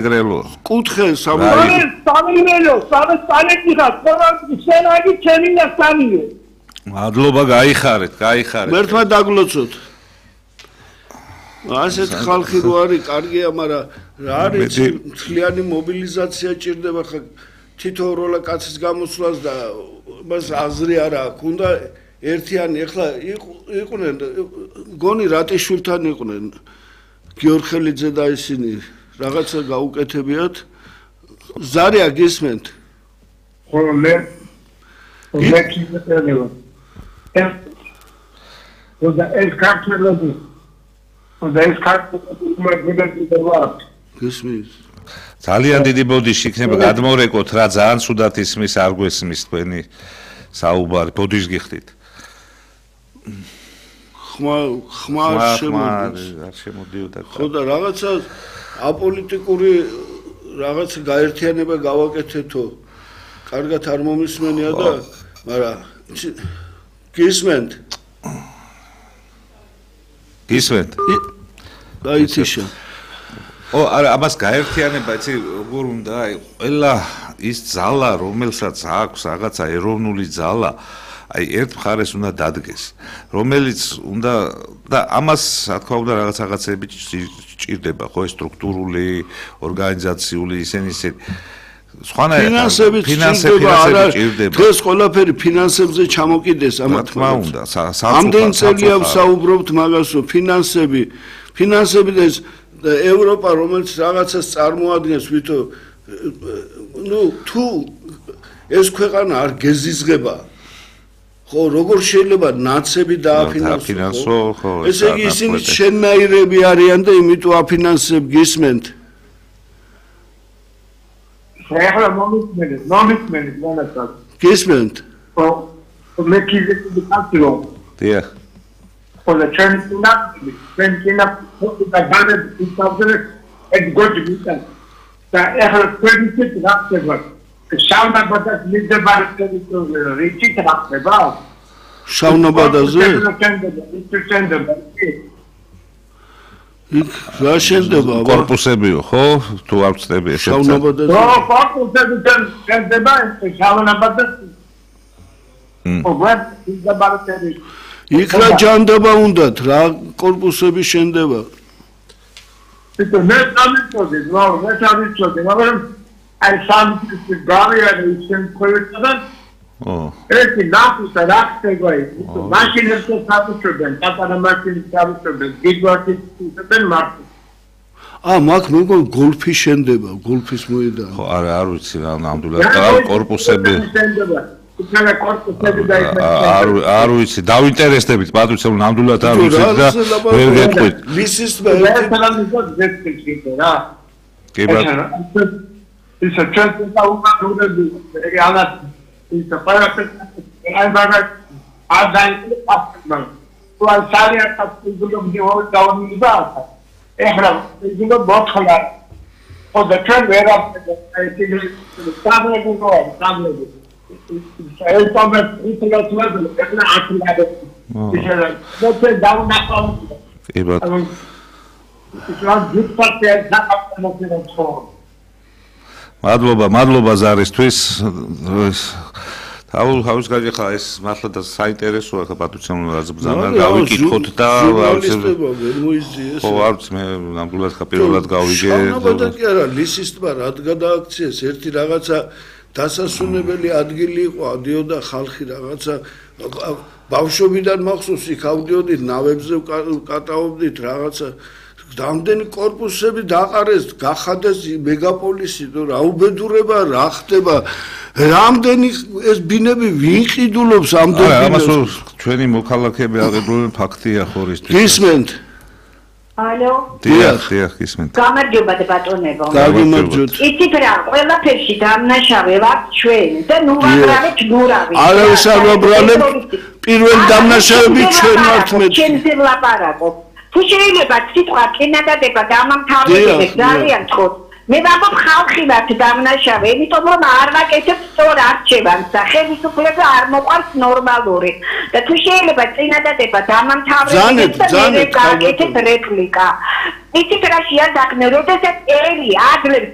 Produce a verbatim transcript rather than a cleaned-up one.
Grelo. Kutxe Samuel. Samuelო, სამწალეთი ხარ, ხოლმე შენაგი ჩემი და სამიო. მადლობა, გაიხარეთ, გაიხარეთ. მერთმა დაგლოცოთ. ასეთ ხალხი რო არის, კარგია, მაგრამ რა არის მთლიანი მობილიზაცია ჭირდება ხა თითო როლა კაცის გამოსვლას და მას აზრი არ აქვს. უნდა ერთიანი ახლა იყვნენ გონი რატიშვილთან იყვნენ გიორხელიძე და ისინი რაღაცა გაუკეთებიათ ზარია გისმენთ ხო მე მე კიდევ ეს ეს კარტელები და ეს კარტელები მაგდიდაა გისმის ძალიან დიდი ბოდიში იქნება გადმორეკოთ რა ძალიან სუდათ ისმის არ გვესმის თქვენი საუბარი ბოდიშს გიხდით ხმა ხმა არ შემოდიოდა ხო და რაღაცა აპოლიტიკური რაღაც გაერთიანება გავაკეთეთო კარგად არ მომისმენია და მაგრამ გისმენთ გისმენთ დაიციშა ო არა ამას გაერთიანება იცი როგორ უნდა აი ყველა ის ძალა რომელსაც აქვს რაღაცა ეროვნული ძალა აი ერთ მხარეს უნდა დადგეს რომელიც უნდა და ამას რა თქმა უნდა რაღაც რაღაცები ჭირდება ხო სტრუქტურული ორგანიზაციული ისინი ისე ფინანსები ჭირდება ჭირდება დღეს ყველაფერი ფინანსებზე ჩამოკიდეს ამათ რა თქმა უნდა ამდენ წელია ვსაუბრობთ მაგასო ფინანსები ფინანსები და ევროპა რომელიც რაღაცას წარმოადგენს ვითო ნუ თუ ეს ქვეყანა არ გეზიზღება ხო როგორ შეიძლება ნაცები დააფინანსო ხო ესე იგი ისინი შენნაირები არიან და იმიტომ აფინანსებ გისმენთ ახლა მომისმენთ მომისმენთ მონაცად გისმენთ ხო მე კიდე კაცრო დიახ ხო და ჩვენინა ჩვენინა და განეთ ისწავლე ეს გოჯი ვიტა და ახლა პრინციპი რახება შავნაბადას მიდაბარ ტერიტორიაზე რიჩი ტრახება შავნაბადაზე რა შენდება კორპუსებიო ხო თუ არ ვწდები ესეც შავნაბადაზე ხო კორპუსები შენდება შავნაბადაზე ხო ვარ მიდაბარ ტერიტორიაზე იქ რა ჯანდაბა უნდათ რა კორპუსები შენდება ეს მე სამიწოდი რა მე სამიწოდი მაგრამ I found this barrier in Korea. Oh. It's not the last way. Machine is so satisfied. That's a machine is satisfied. Big work is the market. Ah, მაგ მეგო გოლფი შენდება, გოლფის მოედა. ხო, არა, არ ვიცი რა ნამდვილად რა კორპუსები. არ არ ვიცი, დავინტერესდებით, პატრიცია, ნამდვილად არ ვიცი და ვერ გეტყვით. მისის რა. კი ბატონო. It's a chance to go to the it's a fire. I'm back. I'm dying. So I'm sorry, I have to do the whole down in the bath. Ehram, you know, both color. For the trend where up, I think the family will go on. Family. It's almost it's a level. It's not actually let's say down that one. It's not good for the not მადლობა, მადლობა ზარისთვის. თავ თავის გაიგე ხა ეს მართლა და საინტერესოა ხა პატრიციამ რაც ბრძანა გავიკითხოთ და ხო არც მე ნამდვილად ხა პირველად გავიგე. შავნაბადა კი არა, ლისის ტბა რად გადააქციეს ერთი რაღაცა დასასვენებელი ადგილი იყო, ადიოდა ხალხი რაღაცა ბავშვობიდან მახსოვს იქ ავდიოდით ნავებზე ვკატაობდით რაღაცა რამდენი კორპუსები დაყარეს, გახადეს მეგაპოლისი, რა უბედურება რა ხდება, რამდენი ეს ბინები ვინ ყიდულობს ამდენ ბინებს. ამას ჩვენი მოქალაქეები აღებულობენ ფაქტია ხორისთვის. გისმენთ? ალო? დიახ, დიახ, გისმენთ. გამარჯობა ბატონებო. გამარჯობთ. იცით რა, ყველაფერში დამნაშავე ვართ ჩვენ და ნუ ვაბრალეთ ნურავი. არავის არ ვაბრალებ, პირველი დამნაშავები ჩვენ ვართ მე. ჩვენზე ვლაპარაკობ. თუ შეიძლება სიტყვა კინადადება დამამთავრებელი ძალიან თქოს მე ვამბობ ხალხი ვართ დამნაშავე იმიტომ რომ არ ვაკეთებ სწორ არჩევანს და ხელისუფლება არ მოყვარს ნორმალური და თუ შეიძლება წინადადება დამამთავრებელი და მე გავაკეთებ რეპლიკა იცით რა შეადაგნე როდესაც ელი ადლებს